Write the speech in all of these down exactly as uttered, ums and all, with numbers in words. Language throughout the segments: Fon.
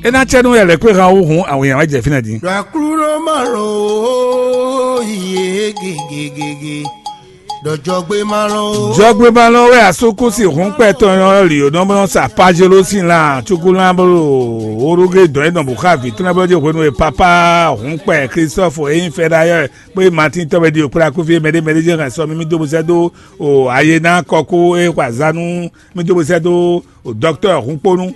É ná cɛ nú wɛ lɛ̌ kpé han wú hǔn awǐnnya wɛ jɛ fínɛ́ din. Ɖɔ Aklúnɔ má lɔn ó, yě gegegege. Ɖɔ jɔgbé má lɔn ó. Jɔgbé má lɔn wɛ asúkúsi hǔnkpɛ tɔn ɔ́ lǐ ó nɔ sa Pajelo sín lan cúkúlán bó orúgé dɔn é nɔ bǔ xá vǐ tɔn lɛ́ɛ bó jɛ hwenu e papá hǔnkpɛ Klistɔ́fu e nyí Fɛdayɔ́ kpé Matín tɔ́ wɛ ɖi òkplá kúfí mɛɖé mɛɖé jɛ hɛn sɔ mì mì dó bó sɛ́ dó o ayé ná kɔkú e xɔ azǎn nú mì dó bó sɛ́ dó o dɔktɔ́ hǔnkpónú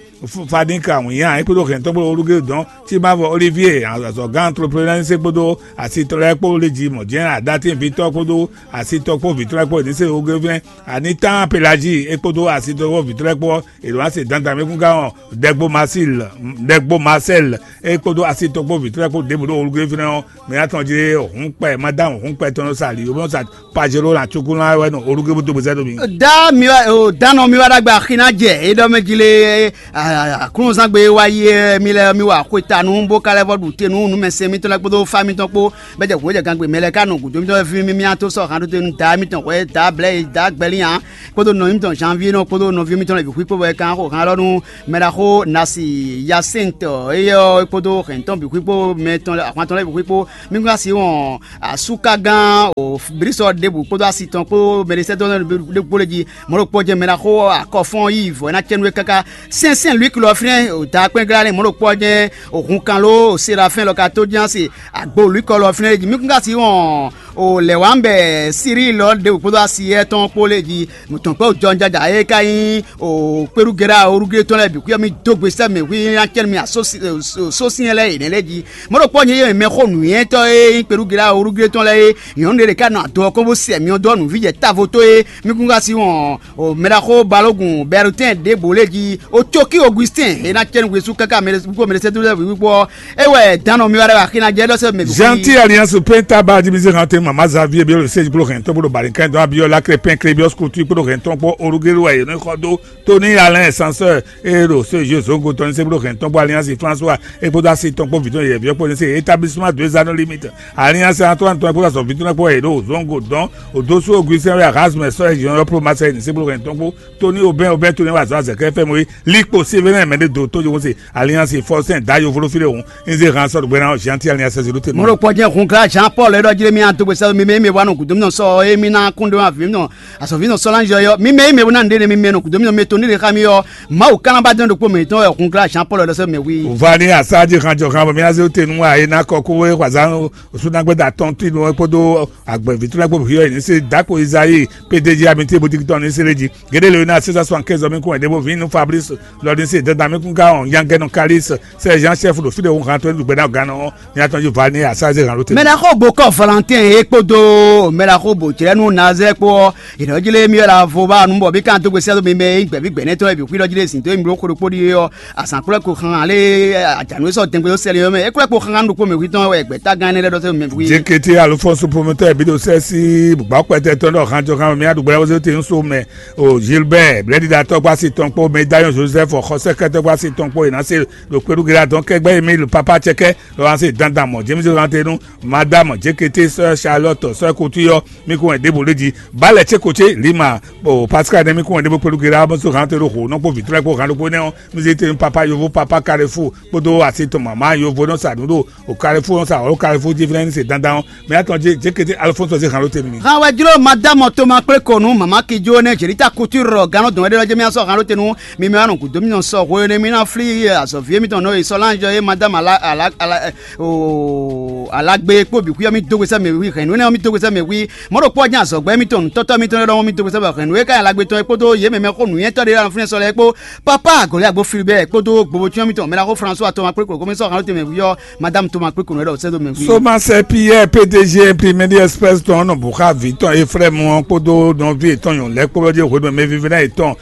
Fadín ka wǐnnya é kpódó hɛ̌ntɔ́ kpódó Rodrigue dɔn Timavɔ Olivier azɔ̌gán Antloplenɛ́sé kpódó asitɔ́ lɛ́ɛ kpó lé jí mɔ̌ jɛ́n Adatínvítɔ́ kpódó asitɔ́ kpó vǐtɔ́ lɛ́ɛ kpó ní se Ogévlɛ́n Anitán Pelagie é kpódó asitɔ́ kpó vǐtɔ́ lɛ́ɛ kpó ɔ́, è ɖǒ ná se dandan mɛ kún gán ɔ́ Dɛgbo Masíl Dɛgbo Masɛ́l é kpódó asitɔ́ kpó vǐtɔ́ lɛ́ɛ kpó ɖěbǔ ɖo Ogévlɛ́n ɔ́, mɛ atɔn jí hǔnkpɛ madámu hǔnkpɛ tɔn nɔ sa ali bó nɔ sa Pajelo na cukúnú wɛ nɔ olúgébú dó bó zɛ dó mi. Da mi wá o danɔ mi wá ɖagbe axi ná jɛ é ɖɔ mɛ jí lé. Aklúnɔzán gbe wá yi mi lɛ mi wá xwe ta nú bó ka lɛ́ vɔ ɖu te nú numɛsɛn mitɔn lɛ́ɛ kpódó fá mitɔn kpó bɛ jɛ hǔn jɛ gangbe mɛ lɛ́ɛ ká nɔ gǔdo mitɔn fí mi mi to sɔ han ɖo te nú da mitɔn hwɛ da blɛ da gbɛlí hàn kpódó nɔ mitɔn janvier nɔ kpódó nɔví mitɔn lɛ bǐ xwí kpó bɔ é kan xo han lɔ nú mɛ ɖaxó nasi yasɛntɔ éyɛ ɔ́ kpódó hɛn tɔn bǐ xwí kpó mɛ tɔn ahwan tɔn lɛ́ɛ bǐ xwí kpó mi gán si wɔn asúkagán o brisɔ ɖěbǔ kpódó asi tɔn kpó mɛɖisɛ́dɔ́ ɖokpó lé jí mɔ̌ ɖokpó jɛ́n mɛ ná xo akɔfɔ́n yí vɔ̌ ná cɛ́nú é káká sɛnsɛn Luíki lɔ fínɛ́ o da kpɛ́n glá lɛ́ mɔ̌ ɖokpó ɔ́ jɛ́n o hun kan ló o Serafɛ́n lɔ ka tó jɛ́n asi agbo Luíkɔ lɔ fínɛ́ é jí mí kún ka sí wɔn o lɛ̌ wǎ bɛ Siríi lɔ ɖěbǔ kpódó asi yɛ́ tɔn kpó lé jí tɔn kpó jɔnjaja e ka nyí o kpeɖugɛɖa orugre tɔn lɛ́ɛ bǐ xwíyɔ mì dó gbe sɛ́ mɛ hwí ná cɛ́nú mì asósinyɛ lɛ́ɛ yě nɛ́ lɛ́ɛ jí mɔ̌ ɖokpó nyɛ yɛ mɛ xó nǔnywɛ́tɔ́ e nyí kpeɖugɛɖa orugre tɔn lɛ́ɛ é nyɔ̌nu ɖé ɖě ká nɔ adɔ ɔ́ kɔn bó sɛ myɔ dó nǔví jɛ távo tó é mí kún ka sí wɔn o mɛɖaxó balógun bɛrutɛn ɖěbǔ lé jí o cókí Augustin e ná cɛ́nú hwesú káká mɛɖésúkú mɛɖésɛ́dúlɛ́ wǐwíkpó ɔ́ é wɛ dǎnɔ mi wá ɖɛ axi ná jɛ ɖɔ sɛ́ mɛ Gentil Alliance Penta ba division hante mama Xavier Biolo se kplo hɛn tɔn bolo bari kan dɔn abiyɔ lakre pɛn kre biɔ skutu kplo hɛn tɔn kpɔ orugelu wɛ yɛn xɔ dó Tony Alain Sanseur e ɖo se jeu zongo tɔn se kplo hɛn tɔn kpɔ Alliance François e kpódó asi tɔn kpó vǐtɔn yɛ viɔ kpó se établissement deux anneaux limite Alliance Antoine tɔn kpó azɔ vǐtɔn kpó e ɖo zongo dɔn odosu Augustin wɛ Erasme sɔ e jɔn yɔ pro Marseille se kplo hɛn tɔn kpó Tony Aubin Aubin Tony wa zɔ azɛkɛ fɛ mo likpo Sévérin mɛ ɖe do tó jowó se Alliance Forcin da yovolo fi ɖe hǔn nze han sɔɖu gbɛna Jean ti Alliance zéro te. Mɔɖo kpɔjɛ hun gra Jean Paul e ɖɔ jlé mi ato gbèsè mi mɛ mi wa nɔ gudo mi nɔ sɔ e mi na kun ɖe ma vi mi nɔ asɔvi nɔ sɔlan jɔ yɔ mi mɛ mi na nɖe ne mi mɛ nɔ gudo mi nɔ mi to ni ɖe xa mi yɔ Mawu kanaba dɔn ɖokpo mɛ tɔn yɔ hun gra Jean Paul e ɖɔ sɛ mɛ wi. Vani asaji han jɔ han bɔ mi aze te nu wa e na kɔ ko we xwaza osu na gbɛda tɔn ti nu kpodo agbɛvi tula kpo hiɔ ni se dako Isayi P D G amite boutique tɔn ni se le ji. Gede le na sesa soixante-quinze mi kun ede bo vin nu Fabrice lɔ ni se dada mi kun ga on yangɛ no Kalis se Jean chef do fide wo han to du gbɛda gan no. Ni atɔn ju vani asaze han lote. Mɛɖaxó bokɔ Valentin e kpodo mɛɖaxó bocɛnu Nazɛ kpó ɔ yɛrɛ jile mi la vo ba nu bɔ bi kan to gbesi ato mi mɛ gbɛbi gbɛnɛ tɔ bi kwi lɔ jile sin to mi blo koɖo kpodi ɔ azan kplɔ ko xan ale ajanu sɔ dɛngbɛ sɛlɛ yɔ mɛ e kplɔ ko xan ɖokpo mɛ wi tɔn wɛ gbɛta gan ne lɛ dɔ se mɛ wi. Jekete Alphonse promoteur bi do sɛ si bugba kpɛtɛ tɔn dɔ han jɔ kan mi aɖu gbɛlɛ wose te nso mɛ o Gilbert blɛdida tɔgba si tɔn kpó Medallion Joseph xɔsɛkɛ tɔgba si tɔn kpó yina se ɖo kpeɖu gila dɔn kɛgbɛ Emile papa cɛkɛ lɔ ase dandan mɔ James Lantenu madame Jekete sɛ Charlotte sɛ kutu yɔ mi ko wɛn ɖěbǔ lé jí balɛ tse ko tse lima o Pascal ne mi ko wɛn ɖěbǔ kpeɖu gila bó so hàn te ɖo xo nɔ kpó vitrɛ kpó hàn ɖokpó nɛ ɔ mi zé te papa yovo papa Carrefour kpódó asi tɔn mama yovo nɔ sa nǔ ɖo o Carrefour nɔ sa ɔlɔ Carrefour jí fínɛ́ ní se dandan ɔ mɛ atɔn jé Jekete Alphonse zé hàn ɖó te nú mi. Hàn wɛ jló madame Thomas kple kɔnu mama kijo ne Jelita Couture gannɔ dɔn wɛ ɖe lɔ jɛ mi asɔ hàn ɖó te nú mi mɛ wa nɔ gǔdo mi nɔ sɔ hwe ne mi na fli azɔvi mi tɔn nɔ yi sɔ lan jɔ ye madame ala ala ala o alagbe kpó bǐ xwíyɔ mi dó gbèsè mɛ wí hɛn nú ne mi dó gbèsè mɛ wí mɔɖo kpɔ jɛ azɔgbɛ mi tɔn nutɔtɔ mi tɔn ɖɔ mi dó gbèsè mɛ hɛn nú ye ka alagbe tɔn kpódó ye mɛ mɛ xó nǔnyɛtɔ ɖe ɖo fúnɛ sɔ lɛ kpó papa agɔlɛ agbo Filibert kpódó gbobo cyɔ mi tɔn mɛ la xó François tɔn ma kpé klo kɔmi sɔ hàn ɖó te mɛ wí yɔ madame Thomas kpé klo ɖɔ sɛ dó mɛ wí. Somasɛ Pierre P D G Imprimedi Express tɔn nɔ bǔ xá vǐ tɔn Efrɛmu ɔ́ kpódó nɔví yětɔn nyɔ̌nu lɛ́ɛ kpó lɔ́ jɛ hwenu e mɛvívɛ́ná yětɔn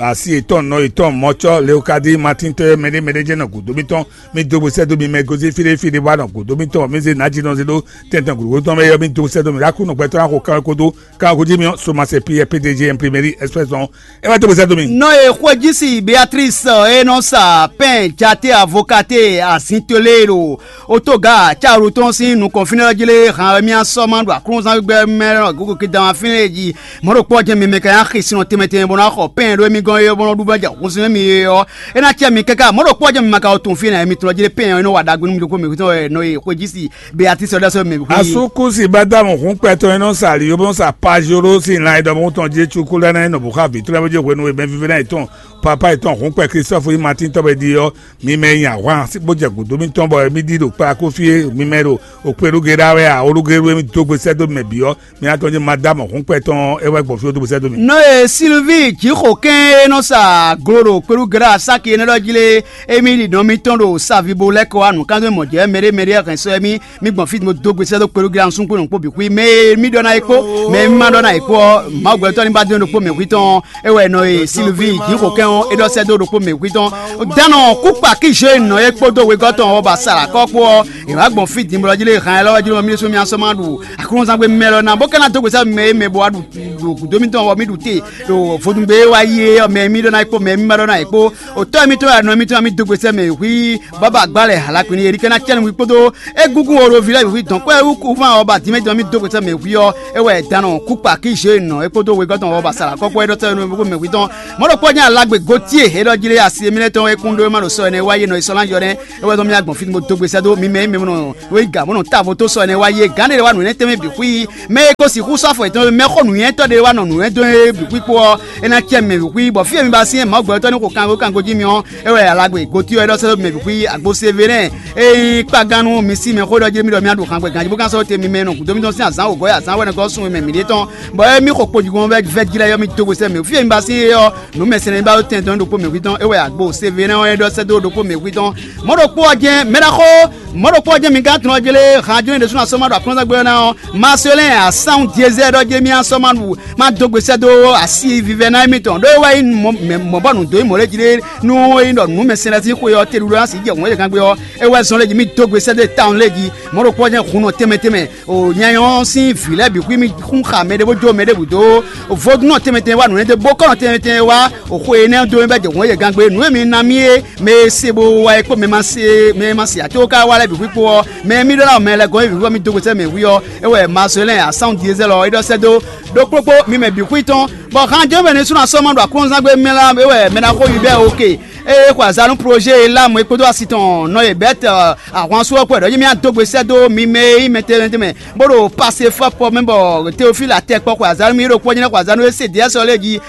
asi yětɔn nɔ yětɔn mɔcɔ Leokadi Matín tɔ́ mɛɖé mɛɖé jɛ́n nɔ gǔdo mítɔn mì dó gbe sɛ́ dó mi mɛ gosín fí ɖé fí ɖé bó wá nɔ gǔdo mítɔn mì zé nǎjínɔ zé ɖó tɛntɛn gǔdo tɔn mɛ Emi dó sɛ́ dó mì ɖo Aklúnɔ gbɛtɔ́ ná xo kanwekódó kanwekójí mì ɔ́, Somasɛ Piyɛ P D G Imprimerie Express ɔ́, é wá dó gbèsè dó mì. Nɔ e xwéjísi Beatrice e nɔ sa pɛn jate avokate azintolé ɖo otoga caru tɔn sín nukɔn fínɛ́ ɔ́ jí lé han wɛ mì asɔ ma ɖo aklúnzán gbígbɛ́ mɛ gogo kidan fínɛ́ jí. Mɔ̌ ɖokpó ɔ́ jɛ́n mi mɛ ka nyi axi sinɔ tɛnmɛ tɛnmɛ bɔ ná xɔ pɛn ɖó émí gɔ́n é bɔ nɔ ɖu bɔ jɛ hun sín émí é ɔ́, é ná cɛ mi káká. Mɔ̌ ɖokpó ɔ́ jɛ́n mi ma ka wo tunwun fí nɛ́ mi tlɔ́ jí lé pɛn ɔ́ é nɔ wa ɖagbe nú mi ɖokpó mɛ hwetɔ́n wɛ nɔ e xwéjísi Beatrice ɔ́ ɖɔ sɛ́ mɛ hwí. Asúkúsi Bádámù hún kpɛtɔ́ e nɔ sa ali bó nɔ sa Pajoro sín lan e ɖɔ mɔ tɔn Jesu kú lɛ́ɛ ná nɔ bǔ xá vǐ tlɛ́ bó jɛ hwenu e mɛvívɛ́ná yětɔn papa yětɔn hún kpɛ Klistɔ́fu yí Matín tɔ́ wɛ ɖi ɔ́, mi mɛ e nyi ahwan bó jɛ gǔdo mitɔn bɔ mi ɖi ɖo kplakó fí e mi mɛ ɖo okpéɖúge ɖá wɛ a, olúgéɖú e mi dó gbe sɛ́ dó mɛ bǐ ɔ́, mi ná tɔ́n jí Madamu hún kpɛtɔ́ ɔ́, é wɛ gbɔn fí dó gbe sɛ́ dó mi. Nɔ e Silvíi Jǐxo kɛ́n e nɔ sa glo ɖo kpéɖúge ɖá sáki énɛ́ ɖɔ jí lé, émí ɖi nɔ mitɔn ɖo savibo lɛ́ kɔ wá nǔkanzɔ́ mɔ̌ jɛ mɛɖé mɛɖé hɛn sɔ́ émí. Mi gbɔn fí mo dó gbe sɛ́ dó kpéɖó gíra nusúngbó nɔ́ kpó bǐ xwí mɛ e mì ɖɔ ná é kpó mɛ e mì ma ɖɔ ná é kpó ɔ́, Mawu gbɛtɔ́ ní ba dó ɖokpó mɛ hwí tɔn. É wɛ nɔ e Silvíi Jǐxo kɛn ɔ́ é ɖɔ sɛ́ dó ɖokpó mɛ hwí tɔn. Dánɔ kúkpa kí Zhoe nɔ é kpódó wegɔ́ tɔn ɔ́ ba sa ɖo akɔ́ kpó ɔ́, è wǎ gbɔn fí din bɔ jí lé han ɛ lɔ́ wɛ jí nɔ mì ɖésú mì asɔ́ ma ɖu aklúnɔzán gbe mɛ lɔ ná bó ka ná dó gbe sɛ́ mɛ e mɛ bo wá ɖu ɖo gǔdo mitɔn ɔ́ mì ɖu te ɖo vodungbe e wá yi é ɔ́ mɛ e mì ɖɔ ná é kpó mɛ e mì ma ɖɔ ná é kpó. Otɔ́ mitɔn wɛ nɔ mitɔn mì dó gbe sɛ́ mɛ hwí bɔ ba gbá lɛ hala kpin élikɛ́ ná cɛ́ nú hwi kpódó égúngún Orovi lɛ́ɛ bǐ hwi dɔn kpɛ́ wú kúfán ɔ́ ba dín mɛ jɔn mì dó gbèsè mɛ hwi ɔ́, é wɛ dǎnɔ kúkpa kí zhě nɔ é kpódó wegɔ́ tɔn ɔ́ ba sa lǎkɔ́kpɔ́ é ɖɔ sɛ́ nú mɛ hwi tɔn. Mɔ̌ ɖokpó ɔ́ nyí alagbe Gotíe é ɖɔ jí lé asi émí lɛ́ɛ tɔn e kún ɖó é má ɖo sɔ ɛnɛ wá yé nɔ yi sɔ́ ná yɔ nɛ́. É wɛ zɔn mì agbɔn fí bó dó gbèsè dó mi mɛ mɛ nɔ wéga bó nɔ távo tó sɔ ɛnɛ wá yé gǎn ɖé wá nǔ énɛ́ tɛnmɛ bǐ xwí. Mɛ e ko sixú sɔ́ afɔ yětɔn mɛ xó nǔnywɛ́tɔ́ ɖé wá nɔ nǔnywɛ́ dó é bǐ xwí kpó ɔ́, é ná cɛ mɛ bǐ xwí bɔ fí e mi ba syɛ́n Mawu gbɛtɔ́ ní xo kango kango jí mi ɔ́, é wɛ alagbe Gotíe ɔ́ é ɖɔ sɛ́ dó mɛ bǐ xwí agbo Severin. Ényí kpagán nú mi sí mɛ xó ɖɔ jí mi ɖɔ mì aɖu hǎngbɛ ganjí bó ka sɔ́ te mi mɛ e nɔ gǔdo mitɔn sín azǎn wǒgɔ́ yi azǎn wɛnɛgɔ́ sun mɛ mǐɖée tɔn, bɔ émí xo kpojigɔn vɛ́ jí lɛ́ɛ ɔ́ mì dó hwesɛ́ mɛ fí e mi ba sín é ɔ́, nǔ mɛsɛn e ba ɖó tɛn dɔn ɖokpó mɛ hwí tɔn é wɛ agbo Severin ɔ́ é ɖɔ sɛ́ dó ɖokpó mɛ hwí tɔn. Mɔ̌ ɖokpó ɔ́ jɛ́n mɛ ɖaxó mɔ̌ ɖokpó ɔ́ jɛ́n mi gán tunɔ jlé han jló ɖésú ná sɔ́ ma ɖo aklúnɔzán gbé ɔ́ ná ɔ́, Maselɛ́n asán Diezɛ́ɛ ɖɔ jɛ́n mì asɔ́ ma ɖu ma dó gbe sɛ́ dó asi vivɛ́ ná émítɔn ɖó é wɛ nyí mɔ̌ bɔ nǔ dó nyí mɔ̌ lɛ́ɛ jí ɖé nú é nyí ɖɔ nǔ mɛsɛn lɛ́ɛ sín xwe ɔ́ te ɖuɖu ná sǐ jɛ hǔn e gán gbé ɔ́, é wɛ zɔn lɛ́ɛ jí mì dó gbe sɛ́ dó tawun lɛ́ɛ jí. Mɔ̌ ɖokpó ɔ́ jɛ́n hun nɔ tɛnmɛ tɛnmɛ o nyanya ɔ́ sín vǐ lɛ́ɛ bǐ xwí mì xún xa mɛ ɖé bó jó mɛ ɖěbǔ dó vodúnnɔ tɛnmɛ tɛnmɛ wá nǔnywɛ́ dó bó kɔ́nɔ tɛnmɛ tɛnmɛ wá o xwe énɛ́ dó mì bɛ́ jɛ hǔn e gán gbé nǔ e mi ná mì é mɛ e se bo wá é kpó mɛ ma se mɛ e ma se ato ka wá lɛ́ɛ bǐ xwí kpó ɔ́, mɛ e mì ɖó ná mɛ lɛ́ɛ gɔ́n é bǐ xwí bɔ mì dó gbe sɛ́ mɛ hwí ɔ́, é wɛ Mazolɛ́n asán Diezɛ́ lɔ é ɖɔ sɛ́ dó ɖokpókpó mi mɛ bǐ xwí tɔn, bɔ han jɛ́n mɛ ní sú ná sɔ́ ma ɖo aklúnɔzán gbé mɛ lá é wɛ mɛ ná xó yi bɛ́ oke. Ée é xwe azǎn nú Ploze Elamu é kpódó asi tɔn nɔ e Bɛ́t ahwansú ɔ́ kpó wɛ ɖɔ jí mì adó gbe sɛ́ dó mi mɛ e nyí mɛtɛnmɛtɛnmɛ bó ɖo Pasefɔ́pɔ mɛ bɔ Teofílu atɛkpɔ xwe azǎn nú mì ɖokpó ɔ́ nyí xwe azǎn nú Esedeyɛ́si ɔ́ lɛ́ɛ jí.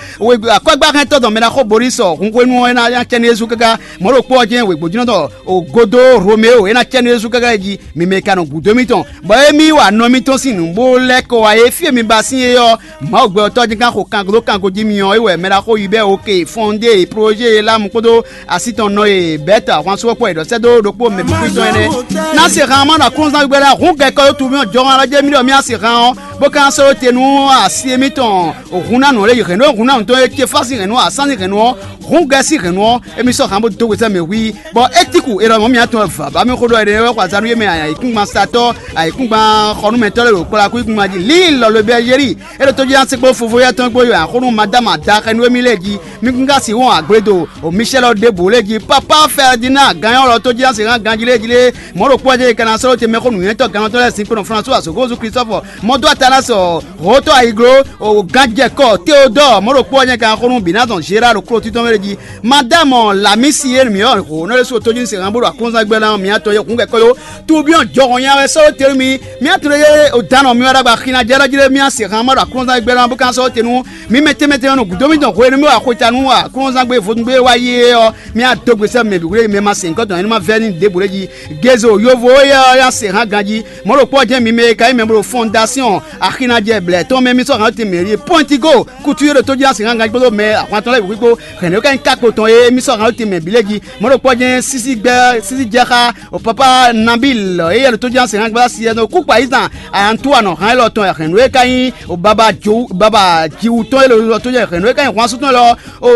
Akɔ́gbáxɛntɔ́ dɔn mɛ ná xó Borísɔ hun hwenu ɔ́ é ná nya cɛ́ nú Jezu káká. Mɔ̌ ɖokpó ɔ́ jɛ́n wěgbójínɔ tɔn Ogodó Romeo é ná cɛ́ nú Jezu káká jí. Mi mɛ ka nɔ gǔdo mitɔn, bɔ émí wa nɔ mitɔn sín nǔ bó lɛ́ kɔ wá é fí e mi ba sín é ɔ́, Mawu gbɛ ɔ́ tɔ́ jɛ́n ká xo kango dó kango jí mi ɔ́, é wɛ mɛ ɖaxó yi bɛ́ oke fɔnde e Ploze Elamu kpódó asi tɔn nɔ e Bɛ́t ahwansúwɔ́kpɔ e ɖɔ sɛ́ dó ɖokpó mɛ bǐ tɔn énɛ́. Ná se han ma ɖo aklúnɔzán gbígbɛ́ lɛ́ɛ hǔn gɛkɔ dó tu mì jɔhɔn alɔ jɛ́ mì ɖɔ mì á se han ɔ́, bó ka ná sɔ́ te nú asi émítɔn hun ná nǔ lé yi hɛ̌nnu e hun ná nǔ tɔn e Kefási hɛ̌nnu ɔ́, asán sín hɛ̌nnu ɔ́, hǔn gɛ́ sín hɛ̌nnu ɔ́, émí sɔ́ han bó dó gbesɛ mɛ hwí, bɔ Étiku e ɖɔ mɔ̌ mǐtɔn wɛ vǎ bá mì xó ɖɔ énɛ́ wɛ xɔ azǎn nú yě mɛ ayǐkúngban satɔ́, ayǐkúngban xɔnúmɛtɔ́ lɛ́ɛ ɖo kplakúyíkúngban jí. Lǐi lɔ lo bɛ́ yé ɖi é ɖo tójí ná sɛkpó fofó yá tɔn gbó yɔ axónú Madáma da xɛ nú émí lɛ́ɛ jí. Mi kún ka sixú wɔn agbledo o Micɛ́lɔ ɖěbǔ lɛ́ɛ jí. Pápá Fɛdinaa ganyɔ́lɔ tójí ná sixú ganjí lɛ́ɛ jí lé. Mɔ̌ ɖokpó ɔ́ jɛ ka ná sɔ́ ɖó te mɛxó nǔnywɛ́tɔ́ gannɔtɔ́ lɛ́ɛ sin kpo nɔ Fransúa Sokózu Klistɔ́fɔ, mɔdó Atanasɔ, hotɔ ayiglo, o ganjɛkɔ Teodɔɔ, mɔ̌ ɖokpó ɔ́ nyɛ kan xó nú Binazɔn Zera ɖo kló títɔn mɛ jí. Madamɔ Lamisi e mǐ ɔ́ hǒnɔ ɖésú tójú ní se han bó ɖo aklúnzán gbɛ́ ná mǐ atɔn e hǔn kɛkɔ́ yó. Tubyɔn jɔhɔn nya wɛ sɔ́ te nú mi. Mǐ atɔn e o danɔ mi wá ɖagba xina jɛ ɖɔ jí ɖé mǐ a se han ma ɖo aklúnzán gbɛ́ ná bó kan sɔ́ te nú mi mɛ tɛnmɛ tɛnmɛ nɔ gǔdo mì dɔn hwenu mì wa xweta nú aklúnzán gbé vodúngbé wá yi é ɔ́, mǐ a dó gbe sɛ́ mɛ bǐ hwlé mɛ ma se nyǐkɔ tɔn nyɛ ní ma vɛ́ ní ɖěbǔ lé jí. Gézo yovo éyɛ́ ɔ́ nya se hán ganjí. Mɔ̌ ɖokpó ɔ́ jɛ́n mi mɛ e ka nyí mɛ bó ɖo fɔndasiyɔn axinajɛ blɛ̌ tɔn mɛ mì sɔ́ hǎn tɛn mɛ ɖíe pɔ́ntigo kutu e ɖo tó jí ná se hán ganjí kpódó mɛ ahwan tɔn lɛ́ɛ bǐ xwíkpó hɛ̌nnu e ka nyí kákpo tɔn é mì sɔ́ hǎn tɛn mɛ bǐ lɛ́ɛ jí. Mɔ̌ ɖokpó ɔ́ jɛ́n sísí gbɛ́ sísí jɛ xá o papa nabil éyɛ́ ɖo tó jí ná se hán gbɛ́ asi ɛnɔ kúkpa yí zan antuwa nɔ hán élɔ́ tɔn hɛ̌nnu e ka nyí o baba jiwu baba jiwu tɔn élɔ́ tó jɛ hɛ̌nnu e ka nyí hwan sú tɔn élɔ́ o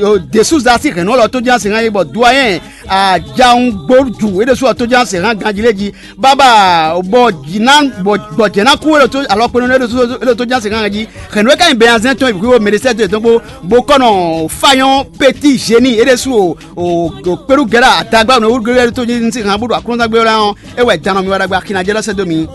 o desúza sí hɛ̌nnu élɔ́ tó jí ná se hán yí bɔ duwayɛn Ajawungboju é ɖésú ɔ́ tó ján sehán ganjí lé jí bábà bɔ jǐ ná bɔ jɛ̌ ná kú é ɖo tó alɔkpɛ́nú é ɖo tó ján sehán jí. Hɛ̌nú é ka nyí bɛnazɛn tɔn ìbíkú mɛɖésɛ́dó yětɔn kpó bó kɔ́ nɔ fáyɔ́n pétí zéní é ɖésú o kpéɖú gɛ́ɖá adagba nɔ wúlú gɛ́ɖá tó jí sehán bó ɖo aklúnɔ́gbé lɛ́ɛ ɔ́, é wɛ dan nɔ mi wá ɖagbe axi ná jɛ lɔ́ sɛ́ dó mi.